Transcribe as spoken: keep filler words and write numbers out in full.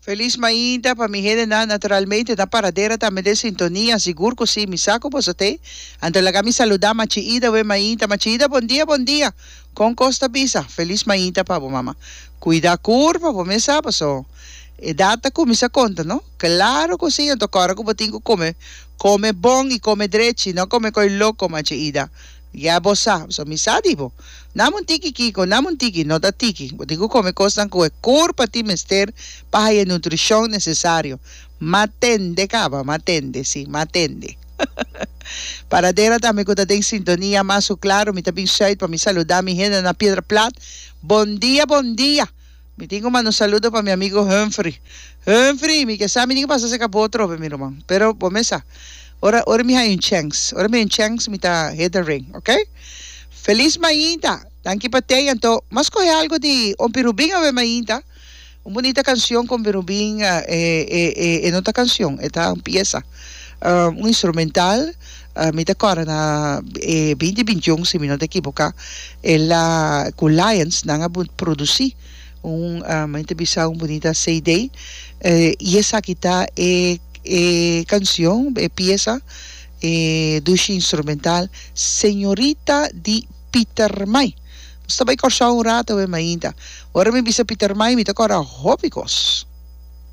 Felis mainta pa mi hendenan, naturalmente na Paradera tambe den sintonia, sigur ku si, mi sa ku boso t'ei. Anto laga mi saludá Machi Ida awe mainta. Machi Ida, bon dia, bon dia! Kon kos ta bisa? Felis mainta pa bo, mama. Kuida kurpa, bo mes sa, paso edat ta kuminsá konta, no? Klaro ku si, anto kòrda ku bo tin ku kome, kome bon i kome drechi, no kome koi loko, Machi Ida. Ya bo sa, pasobra mi sa di bo. Nam un tiki kiko, nam un tiki, no ta tiki. Bo tin ku kome kosnan ku e kurpa tin mester pa haya e nutrishon nesesario. M'a tende kaba, m'a tende, si, m'a tende. Paradera tambe ku ta den sintonia mas ku klaro, mi ta bin sùit pa mi saludá mi hende na Piedra Plat. Bon dia, bon dia! Mi tin ku manda un saludo pa mi amigo Humphrey. Humphrey, mi ke sa mi tin ku pasa serka bo atrobe, mi ruman. Pero bo mes sa, ora ora mi haña un chèns, ora mi haña un chèns mi ta hit the ring, ok? Felis mainta! Danki pa tei. Anto, m'a skohe algu di Ompi Rubin awe mainta. Un bunita kansion ku Ompi Rubin, e e e e no ta kansion, e ta un piesa, un instrumental. Mi ta kòrda na e binti bintiun, si mi no ta ekiboká, el a ku Lions nan a produsí un mi ta bisa un bunita C D i esaki ta e e kansion, e piesa, e dushi instrumental Señorita di Pietermaai. Nos ta bai Kòrsou un rato awe mainta. Ora mi bisa Pietermaai mi ta kòrda hopi kos.